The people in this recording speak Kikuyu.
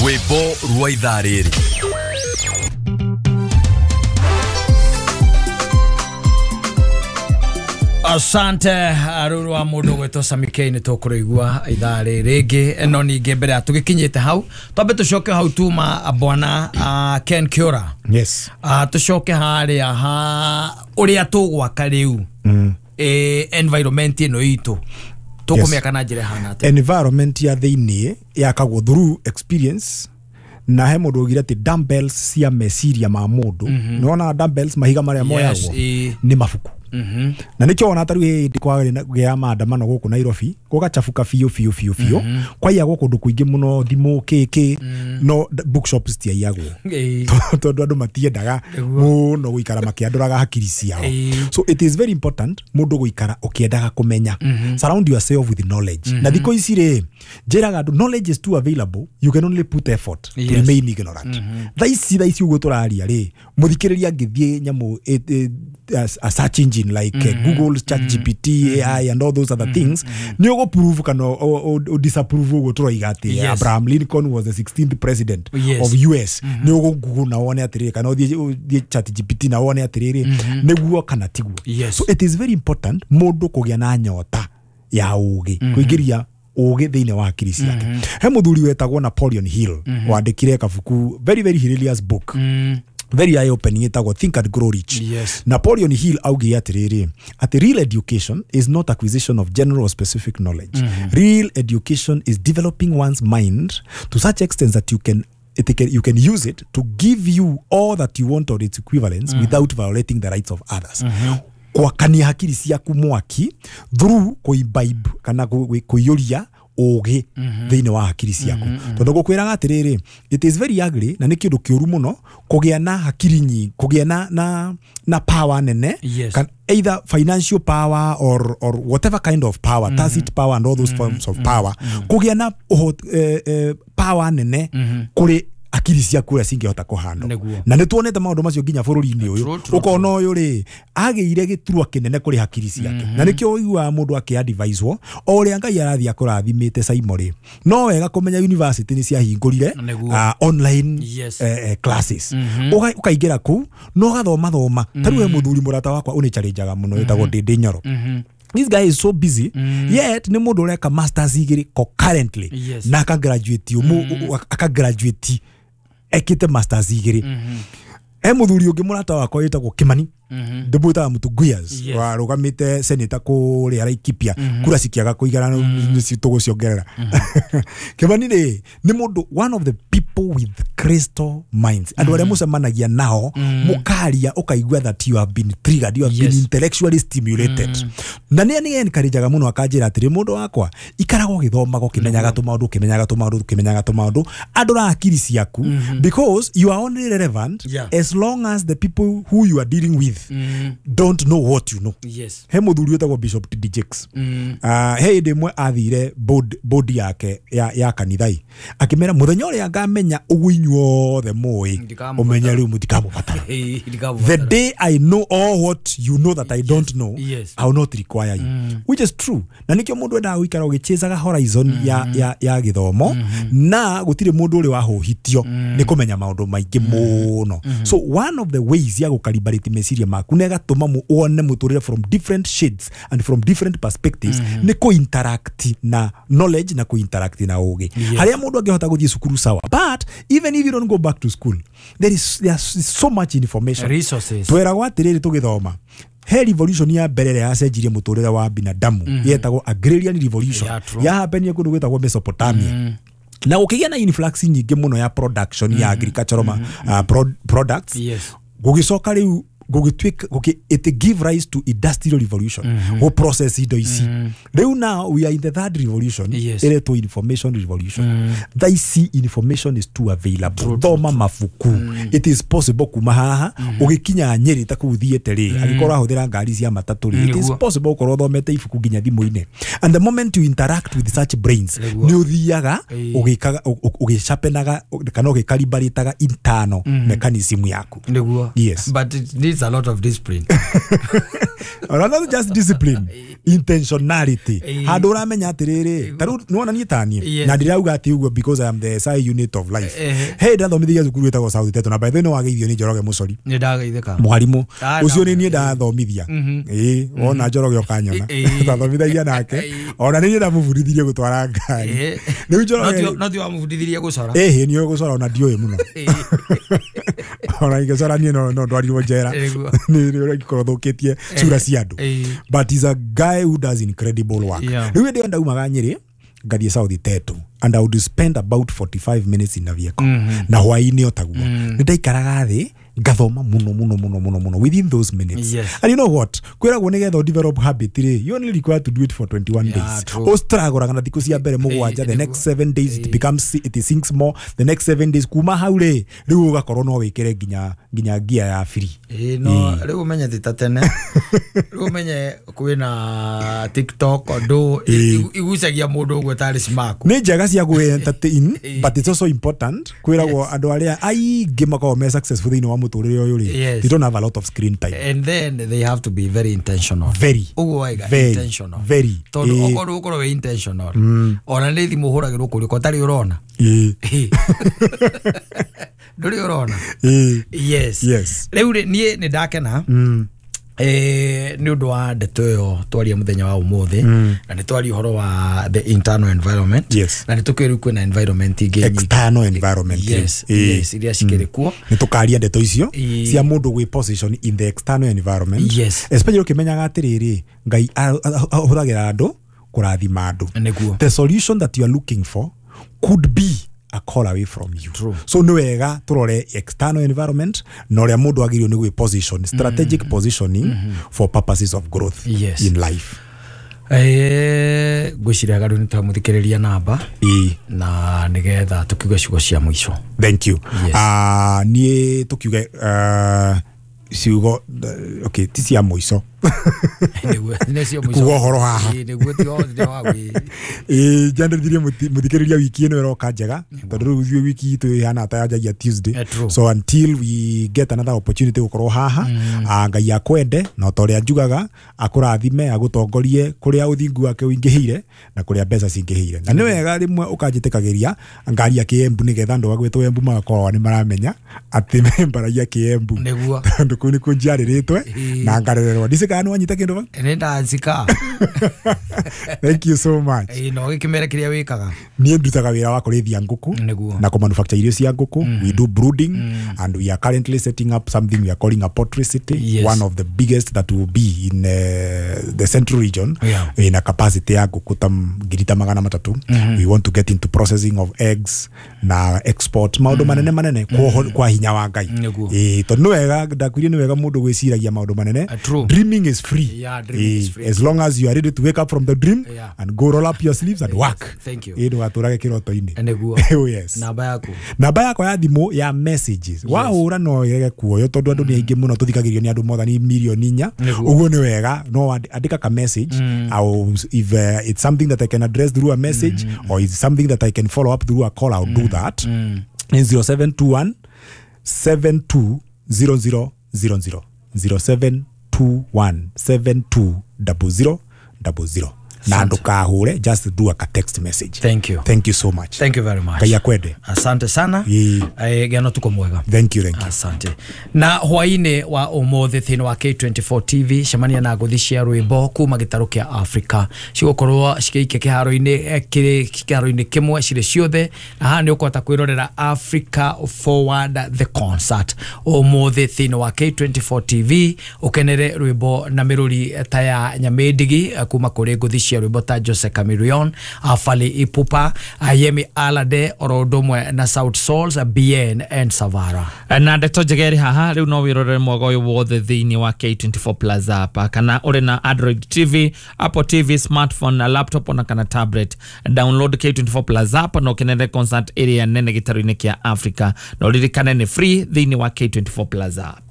Rwĩmbo rwa ithaa rĩrĩ. Asante rũrũ wa mũndũ gwĩtwo Sammy K, nĩ tũkũrĩigua ithaa rĩrĩ rĩngĩ, no ningĩ mbere ya tũgĩkinyĩte hau twambe tũcoke hau tuma bwana Ken Kiora. Yes. Tũcoke harĩa ha ũrĩa tũgwaka rĩu environment ĩno itũ tũkũmĩaka na njĩra ĩhana atĩa? Environment ya thĩiniĩ yakagwo through experience, na he mũndũ augire atĩ dumbbells cia meciria ma mũndũ, nĩwona dumbbells, mahiga marĩa moyagwo nĩ mabuku. Na nĩkĩo wona tarĩu hĩndĩ kwagĩa maandamano gũkũ Nairobi gũgachabuka biũ biũ biũ biũ, kwaiyagwo kũndũ kũingĩ mũno, thimũ kĩkĩ, no bookshops tiaiyagwo tondũ andũ matiendaga mũno gũikara makĩandũraga hakiri ciao. So it is very important mũndũ gũikara ũkĩendaga kũmenya. Surround yourself with knowledge. Na thikũ ici rĩ, njĩraga andũ knowledge is too available, you can only put effort to remain ignorant. Thaa ici ũguo tũraria rĩ, mũthikĩrĩria angĩthiĩ nyamũ a search engine like Google, ChatGPT, AI and all those other things, nĩ ũgũ-prove kana ũ-disapprove ũguo tũroiga atĩ Abraham Lincoln was the 16th president of US. Nĩ ũgũ-Google na wone atĩrĩrĩ, kana ũthiĩ ChatGPT na wone atĩrĩrĩ, nĩguo kana tiguo. So it is very important mũndũ kũgĩa na nyota ya ũgĩ, kũingĩria ũgĩ thĩinĩ wa hakiri ciake. He mũthuri wetagwo Napoleon Hill, wandĩkire kabuku, very very hilarious book, very eye opening, ĩtagwo Think and Grow Rich. Napoleon Hill augire atĩrĩrĩ, atĩ real education is not acquisition of general or specific knowledge. Real education is developing one's mind to such extent that you can use it to give you all that you want or its equivalents without violating the rights of others. Gwakania hakiri ciaku mwaki through kũimbibe kana kũiyũria ũgĩ thĩinĩ wa hakiri ciaku, tondũ ngũkwĩraga atĩrĩrĩ, it is very ugly na nĩ kĩndũ kĩũru mũno kũgĩa na hakiri nyingĩ, kũgĩa na power nene, either financial power or whatever kind of power, tacit power and all those forms of power, kũgĩa na power nene kũrĩ akiri ciaku ũrĩa cingĩhota kũhandwo. Na nĩ tuonete maũndũ macio nginya bũrũri-inĩ ũyũ, ũkona ũyũ rĩ agĩire gĩturwa kĩnene kũrĩ hakiri ciake, na nĩkĩo ũiguaga mũndũ akĩadviswo o ũrĩa Ngai arathiĩ akũrathimĩte Saimo rĩ, no wega kũmenya university nĩ ciahingũrire online classes, ũkaingĩra kũu na ũgathoma thoma. Ta rĩu he mũthuri mũrata wakwa ũnĩchallengaga mũno wĩtagwo Ndĩndĩ Nyoro. This guy is so busy, yet nĩ mũndũ ũreka masters igĩrĩ concurrently, na akagraduate akagraduate ekĩte masters igĩrĩ. He mũthuri ũngĩ mũrata wakwa wĩtagwo Kimani, ndĩmwĩtaga Mũtunguyas, warũgamĩte senator kũrĩa Laikipia, kura cikĩaga kũigana nĩcio tũgũciongerera. Kimani rĩ nĩ mũndũ one of the people with crystal minds, andũ arĩa mũcemanagia nao mũkaria ũkaigua that you have been triggered, you have been intellectually stimulated. Na nĩ nĩ encourageaga mũno akanjĩra atĩrĩ, mũndũ wakwa ikaraga ũgĩthomaga ũkĩmenyaga tũmaũndũ, ũkĩmenyaga tũmaũndũ, ũkĩmenyaga tũmaũndũ, andũra hakiri ciaku, because you are only relevant as long as the people who you are dealing with don't know what you know. He mũthuri wĩtagwo Bishop T.D. Jakes. He hĩndĩ ĩmwe athire board yake ya kanithai, akĩmera mũthenya ũrĩa ngamenya ũguo inyuothe mũĩ, ũmenye rĩu mũtikamũbatara. The day I know all what you know that I don't know, I will not require you. Which is true. Na nĩkĩo mũndũ endaga gũikara ũgĩchĩzaga horizon ya gĩthomo, na gũtirĩ mũndũ ũrĩ wahũhitio nĩ kũmenya maũndũ maingĩ mũno. So one of the ways ya gũkalibrate meciria maku na ĩgatũma wone mũtũrĩre from different shades and from different perspectives nĩ kũ-interact na knowledge na kũ-interact na ũgĩ. Harĩa mũndũ angĩhota gũthiĩ cukuru sawa, but even if you don't go back to school, there is so much information, resources. Tweragwo atĩrĩrĩ tũgĩthoma, he revolution ya mbere ĩrĩa yacenjirie mũtũrĩre wa binadamu yetagwo agrarian revolution, yahapenire kũndũ gwĩtagwo Mesopotamia, na gũkĩgĩa na influx nyingĩ mũno ya production ya agricultural products. Gũgĩcoka rĩu it give rise to industrial revolution, go process indo ici. Rĩu now we are in the third revolution, ĩretwo information revolution. Thaa ici information is too available. Thoma mabuku, it is possible kuma haha ũgĩkinya Nyĩrĩ ta kũu thiĩte rĩ, angĩkorwo ũrahũthĩra ngari cia matatũ rĩ, it is possible ũkorwo ũthomete ibuku nginya thimũ-inĩ. And the moment you interact with such brains, nĩ ũthiaga ũgĩsharpenaga kana ũgĩkalibrataga internal mechanism yaku. Nĩguo. Yes. But it needs needs a lot of discipline. Or not just discipline, intentionality. Handå ũramenya atĩrĩrĩ, ta rĩu nĩwona niĩ taniĩ na ndirauga atĩ ũguo because I am the SI unit of life. Hey, ndathomithagia cukuru ĩtagwo South Teto na by the way nĩwageithio nĩ Njoroge Mũcori. Nĩ ndageithĩka. Mwarimũ ũcio nĩ niĩ ndathomithia. Ĩĩ, wona Njoroge ũkanyona. Twathomithagia nake. Ona nĩ niĩ ndamũbundithirie gũtwara ngari. Rĩu Njoroge no ti wamũbundithirie gũcora. Ĩhĩ, nĩ gũcora ona ndiũĩ mũno. Ona ingĩcora niĩ no ndwarirwo njera. Nĩ ũragĩkorwo thũkĩtie cura cia andũ. But he's a guy who does incredible work. Rĩu hĩndĩ ĩyo ndaumaga Nyĩrĩ ngathiĩ South Teto and I would spend about 45 minutes in a vehicle. Na hwaĩ-inĩ o taguo. Nĩ ndaikaraga thĩ ngathoma muno muno muno muno muno within those minutes. Yes. And you know what? Kwĩragwo nĩgetha develop habit rĩ, you only require to do it for 21 days. Ũstragũraga na thikũ cia mbere mũgwanja, the next 7 days it becomes it sinks more, the next 7 days kuma hau rĩ, rĩu ũgakorwo no wĩkĩre nginya gear ya free. No rĩu ũmenye ti ta tene. Rĩu ũmenye kwĩna TikTok ũndũ igucagia mũndũ ũguo tarĩ smack. Nĩ njega cia gwĩ entertain, but it's also important kwĩragwo andũ arĩa aingĩ makoragwo me successful thĩinĩ wa mũtũrĩre ũyũ rĩ, they don't have a lot of screen time. And then they have to be very intentional. Very. Ũguo waiga intentional. Very. Tondũ okorwo ũkorwo wĩ intentional. Ona nĩ thimũ ũhũragĩrwo kũrĩa ko tarĩ ũrona. Ndũrĩ ũrona. Yes. Yes. Rĩu rĩ niĩ nĩ ndakena. Nĩ ũndũ wa ndeto ĩyo twaria mũthenya wa ũmũthĩ na nĩ twaria ũhoro wa the internal environment. Yes. Na nĩ tũkĩrĩ kwĩna environment ingĩ external environment. Yes, yes, iria cikĩrĩ kuo. Nĩ tũkaria ndeto icio cia mũndũ gwĩ position in the external environment. Yes. Especially ũkĩmenyaga atĩrĩrĩ, Ngai ahũthagĩra andũ kũrathima andũ. The solution that you are looking for could be a call away from you. True. So nĩ wega tũrore external environment na ũrĩa mũndũ agĩrĩirwo nĩ gwĩ position, strategic positioning for purposes of growth. Yes. In life. Ngwĩciria rĩu nĩ twamũthikĩrĩria namba na nĩgetha tũkiuge ciugo cia mũico. Thank you. Yes. Niĩ tũkiuge ciugo okay, ti cia mũico. Kuga ũhoro haha. Njanĩrĩrie mũthikĩrĩria wiki ĩno ĩroka njega tondũ rĩu ithuĩ wiki itũ ĩhana ta yanjagia Tuesday. So until we get another opportunity gũkorwo haha, Ngai akwende na ta ũrĩa njugaga akũrathime agũtongorie kũrĩa ũthingu wake ũingĩhĩire na kũrĩa mbeca cingĩhĩire. Na nĩ wega rĩmwe ũkanjĩtĩkagĩria ngaria Kĩembu nĩgetha andũ agwĩtwo Embu magakorwo nĩ maramenya atĩ mbaragia Kĩembu tondũ kũu nĩkuo njiarĩrĩtwe na ngarererwo. Ndicĩ kana nĩwanyita kĩndũ bau? Nĩ ndacika. Thank you so much. No gĩkĩmere kĩrĩa wĩkaga. Niĩ ndutaga wĩra wa kũrĩithia ngũkũ na kũmanufacture irio cia ngũkũ. We do brooding and we are currently setting up something we are calling a poultry city. Yes. One of the biggest that will be in the central region. Yeah. In a capacity ya ngũkũ ta 300,000. We want to get into processing of eggs na export maũndũ manene manene kwa hinya wa Ngai. Tondũ nĩ wega ndakwĩrire nĩ wega mũndũ gwĩciragia maũndũ manene. Dreaming is free. Yeah, dreaming is free. As long as you are ready to wake up from the dream and go roll up your sleeves and work. Thank you. Ndũgatũrage kĩroto-inĩ. Nĩguo. Oh, yes. Namba yaku. Namba yakwa ya thimũ ya messages. Wahũra no ĩrege kuoyo tondũ andũ nĩ aingĩ mũno tũthikagĩrĩrio nĩ andũ more than 4 million. Ũguo nĩ wega no andĩka ka message. If it's something that I can address through a message or it's something that I can follow up through a call, I'll do that. 0721 720000 0721 720000 na ndũkahũre, just do a text message. Thank you. Thank you so much. Thank you very much. Ngai akwende. Asante sana. Gĩa tuko mwega. Thank you, thank you. Asante. Na hwainĩ wa ũmũthĩ thĩinĩ wa K24 TV cemania na ngũthi cia rwĩmbo kuma gĩtarũ kĩa Afrika cigũkorwo cikĩikia kĩharo-inĩ kĩharo-inĩ kĩmwe cirĩ ciothe na haha nĩ ũkũhota kwĩrorera Africa Forward the Concert ũmũthĩ thĩinĩ wa K24 TV ũkenere rwĩmbo na mĩrũri ta ya Nyamĩndigi kuma kũrĩ ngũthi cia rwĩmbo ta Jose Chameleone, Fally Ipupa, Yemi Alade oro ũndũ ũmwe na South Souls, Bien and Savara. Na ndeto njega ĩrĩ haha rĩu no wĩrorere mwaga ũyũ wothe thĩinĩ wa K24 Plus app kana ũrĩ na Android TV, Apple TV, smartphone na laptop ona kana tablet. Download K24 Plus app na ũkenere concert ĩrĩa nene gĩtarũ-inĩ kĩa Africa na ũririkane nĩ free thĩinĩ wa K24 Plus app.